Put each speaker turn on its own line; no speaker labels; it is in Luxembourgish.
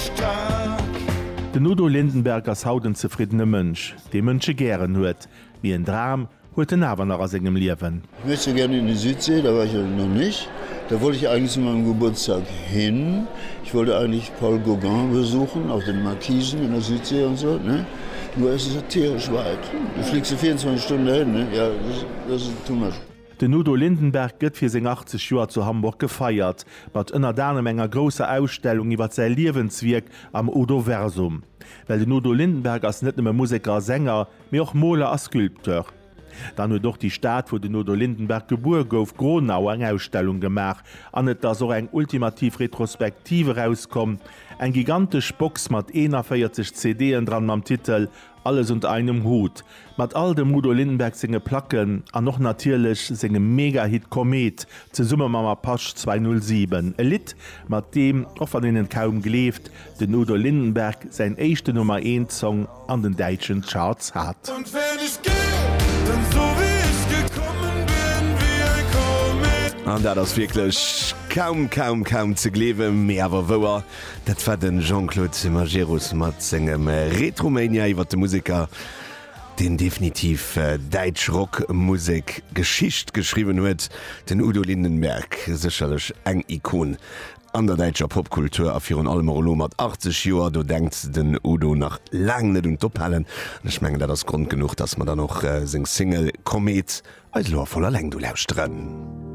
stark. Den Udo Lindenberg ass haut en zefriddene Mënsch, dee Mënsche gären huet. Mee en Dram huet en awer nach a sengem Liewen.
Ich möchte gerne in die Südsee, da war ich noch nicht. Da wollte ich eigentlich zu meinem Geburtstag hin. Ich wollte eigentlich Paul Gauguin besuchen, auf den Markisen in der Südsee und so, ne? Nur es ist ja tierisch weit. Du fliegst du 24 Stunden dahin, ne? Ja, das, das ist too much.
Den Udo Lindenberg gëtt fir seng 80 Joer zu Hamburg gefeiert, mat ënnert anerem enger grousser Ausstellung iwwer säi Liewenswierk am Udoversum. Well den Udo Lindenberg ass net nëmme Museker a Sänger, mee och Moler a Sculpteur. Dann huet och déi Stad, wou den Udo Lindenberg gebuer gouf, Gronau, eng Ausstellung gemaach an et ass och eng ultimativ Retrospektiv erauskomm, eng gigantesch Box mat 41 CD'en dran mam Titel Alles unter einem Hut, mat all dem Udo Lindenberg senge Placken an och natierlech sengem Mega-Hit Komet zesumme mam Apache 207, e Lidd, mat deem, och wann een et kaum gleeft, den Udo Lindenberg säin éischten Nummer eent Song an den däitschen Charts hat.
Und wenn ich geh, dann so wie ich gekommen bin, wie ein Komet.
An dat ass wierklech kaum, kaum, kaum ze gleewen, mee awer wouer. Dat war de Jean-Claude Majerus mat sengem Retromania iwwer de Museker, deen definitiv däitsch Rockmusek Geschicht geschriwwen huet, den Udo Lindenberg. Sécherlech eng Ikon an der däitscher Popkultur a virun allem och elo mat 80 Joer, do denkt den Udo nach laang net un d'Ophalen. An ech mengen, dat ass Grond genuch, dass mer dann och seng Single Komet eis elo a voller Längt ulauschteren.